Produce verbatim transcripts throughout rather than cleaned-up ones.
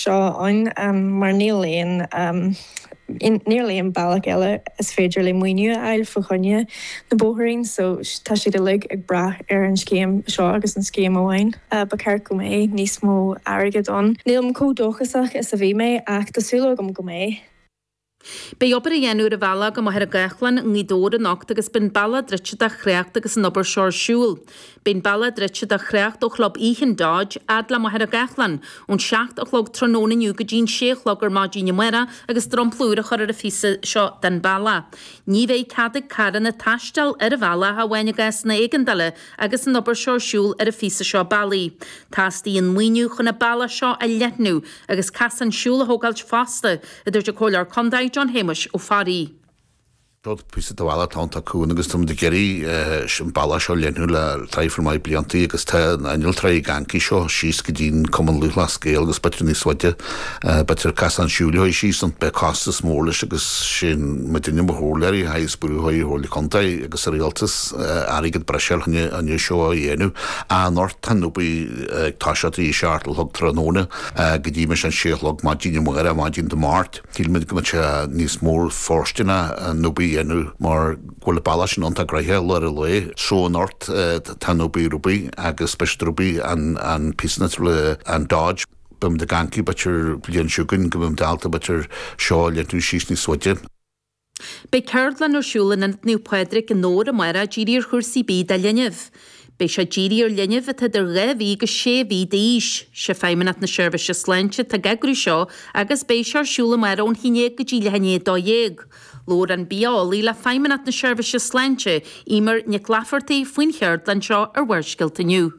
seo ann um, mar níl aon um, níl aon bealach eile is féidir le maoiniú a fháil fá choinne na bóithrín, so tá siad uilig ag brath ar an scéim seo agus an scéim amháin. Uh, ba cheart go mbeadh níos mó airgead ann. Nílim chomh dóchasach is a bhí mé ach tá súil agam go mbeidh. Beidh obair á dhéanamh ar an bhealach go Machaire Gathlán i nGaoth Dobhair anocht agus beidh an bealach druidte do thrácht agus an obair seo ar siúl. Beidh an bealach druidte do thrácht ó chlub Ethan Dodge fhad le Machaire Gathlán ón seacht a chlog tráthnóna inniu go dtí'n sé a chlog ar maidin amárach agus dromchla úr á chur ar an phíosa seo den bealach. Ní bheidh cead ag carranna taisteal ar an bhealach ach amháin i gcásanna éigeandála agus an obair seo ar siúl ar an phíosa seo bealaigh. Teastaíonn maoiniú chun an bealach seo a leathnú agus casán siúil a thógáilt fosta, a dúirt an Comhairleoir Contae John Shéamuis Ó Fearraigh. Rud píosa de bhealach tá cún agus tá ag iarraidh an bealach seo leathnú le traidhfil maith bliantaí agus tá an innealtóirí gancaí seo síos go dtí'n Cumann Lúthchleas Gael agus b'fhéidir níos faide b'fhéidir casán siúil síos an beidh costas mór leis agus sin muidinne mar chomhairleoirí agus brú Chomhairle Contae agus a rialtas airgead breise chun an seo a dhéanamh. Anocht tá an obair ag toiseacht i seacht a chlog tráthnóna go dtí an sé a chlog maidin amárach maidin Dé Máirt. Sílimid go mbeidh sé níos mór fóirsteanach an obair a dhéanamh mar go bhfuil bealach sin iontach gnoitheach lár an lae so anocht tá an obair rubaí agus speis rubaí an an píosna le an Dodge. B'im de gancaí b'fhéidir bliain seo chugainn go mbím dalta b'fhéidir seo leathnú síos níos faide. Beidh ceardlann ar siúl in Ionad Naomh Pádraig i nDobhar amárach dírithe ar chúrsaí bídh do linbh. Beidh sé dírithe ar linbh atá idir dhá mhí go sé mhí d'aois, sé Feidhmeannacht na Seirbhíse Sláinte atá ag eagrú seo agus beidh sé ar siúl amárach ón haon déag go dtí leath i ndiaidh a dó dhéag. Labhair an biaeolaí le Feidhmeannacht na Seirbhíse Sláinte, Emer Nic Laifeartaigh faoin cheardlann seo ar Bharrscéalta inniu.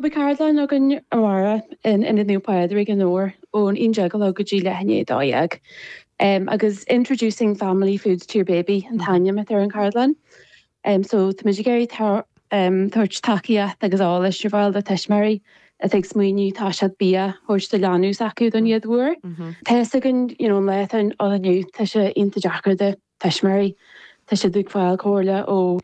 Beidh ceardlann againn amárach in Ionad Naomh Pádraig i nDobhar ón aon déag go dtí leath i ndiaidh a dó dhéag. Um, agus introducing family foods to your baby an t-ainm atá ar an cheardlann. Um, so tá muid ag iarraidh um, tabhairt tacaíocht agus eolas ar fáil do tuismitheoirí atá ag smaoineamh tá siad bia a thabhairt do leanbh s'acu don chéad uair. Tá againn you know, an lá ann inniu tá sé iontach deacair do tuismitheoirí. Tá siad ag fáil comhairle ó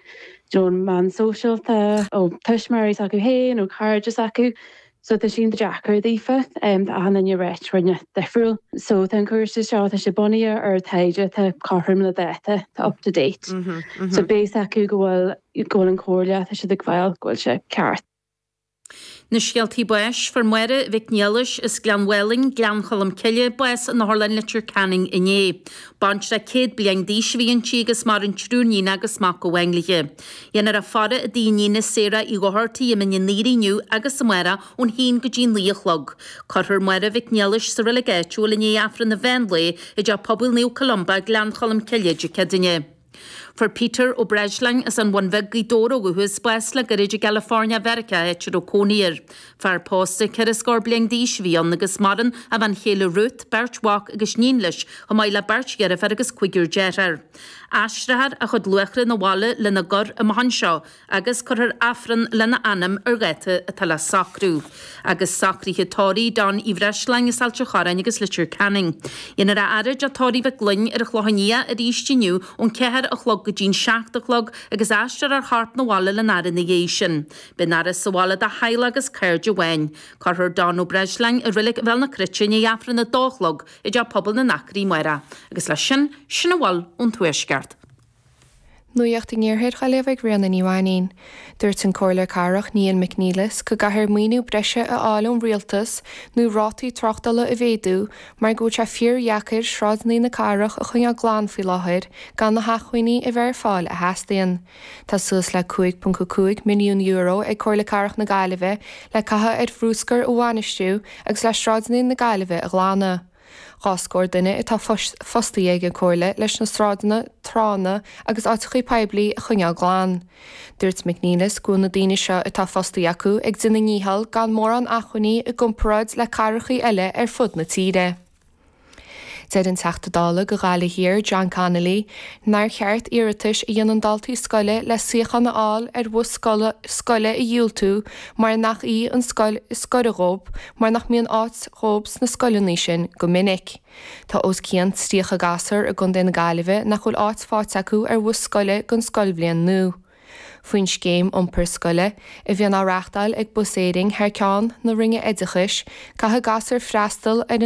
na meáin shóisialta ó tuismitheoirí s'acu féin ó chairde s'acu. So tá sin deacair daofa um, tá an réit rinne difriúil. So tá an cúrsa seo tá sé bunaithe ar taighde tá cothrom le dáta tá up to date. Mm -hmm, mm -hmm. So beidh acu go bhfuil go bhfuil an chomhairle tá siad ag fáil go bhfuil sé ceart. Na scéaltaí báis fuair Máire Mhic Niallais as Gleann Mhálainn, Gleann Cholm Cille, bás in Otharlann Leitir Ceanainn inné. Baintreach céad bliain d'aois a bhí inti agus maireann triúr níon agus mac amháin léi. Dhéanfar a faire i dtigh a iníne Sarah Uí Dhochartaigh i mBinn an Aoire inniu agus amárach ón haon go dtí naoi a chlog. Cuirfear Máire Mhic Niallais sa reilig áitiúil i ndiaidh Aifreann an mheán lae i dTeach Pobail Naomh Columba, Gleann Cholm Cille Dé Céadaoine. Fuair Peter Ó Breisleáin as an Bhun Bheag Gaoth Dobhair ó dhúchas bás le gairid i gCalifornia Mheiriceá áit a raibh cónaí air. Fear pósta ceithre scór bliain d'aois a bhí ann agus maireann a bhean chéile Ruth, beirt mhac agus iníon leis, chomh maith le beirt dheirfiúr agus cúigear dearthár. Aistreofar a chuid luachra 'na bhaile lena gcur amach anseo agus cuirfear Aifreann lena anam ar dháta atá le socrú. Agus socruithe tórraimh Don Uí Bhreisleáin as Ailt an Chorráin agus Leitir Ceanainn. Dhéanfar a fhaire i dteach tórraimh Mhic Gloinn ar an Chlochán Liath arís inniu ón ceathair a chlog go dtí'n seacht a chlog agus aistreofar a chorp 'na bhaile lena fhaire ina dhiaidh sin. Beidh an fhaire sa bhaile do theaghlach agus cairde amháin. Cuirfear Don Ó Breisleáin i reilig Bhéal na Cruite i ndiaidh Aifreann a dó a chlog i dteach pobail na nAcraí amárach. Agus leis sin sin a bhfuil ón tuaisceart. Nuacht an Iarthair á léamh ag Ríona Ní Mhainín. Dúirt an Comhairleoir Cathrach Niall McNeilis go gcaithfear maoiniú breise a fháil ón rialtas nó rátaí tráchtála a mhéadú mar go bhfuil sé fíordheacair sráideanna na cathrach a choinneáil glan faoi láthair gan na hacmhainní a bheith ar fáil a theastaíonn. Tá suas le cúig ponc cúig milliún euro ag Comhairle Cathrach na Gaillimhe le caitheamh ar bhruscar a bhainistiú agus le sráideanna na Gaillimhe a ghlanadh. Dhá scór duine atá fostaithe ag an Chomhairle leis na sráideanna, tránna agus áiteacha poiblí a choinneáil glan. Dúirt McNeilis go bhfuil na daoine seo atá fostaithe acu ag déanamh a ndícheall gan mórán acmhainní i gcomparáid le cathracha eile ar fud na tíre. Deir an Teachta Dála do Ghaillimh Thiar John Connolly nár cheart iarratais a dhéanann daltaí scoile le suíochán a fháil ar bhus scoile a dhiúltú mar nach í an scoil is gaire dóibh mar nach mbíonn áit dóibh sna scoileanna sin go minic. Tá os cionn tríocha gasúr i gContae na Gaillimhe nach bhfuil áit faighte acu ar bhus scoile don scoilbhliain nua. Faoin scéim iompar scoile a bhíonn á reáchtáil ag Bus Éireann thar ceann na Roinne Oideachais, caithfidh gasúir freastal ar an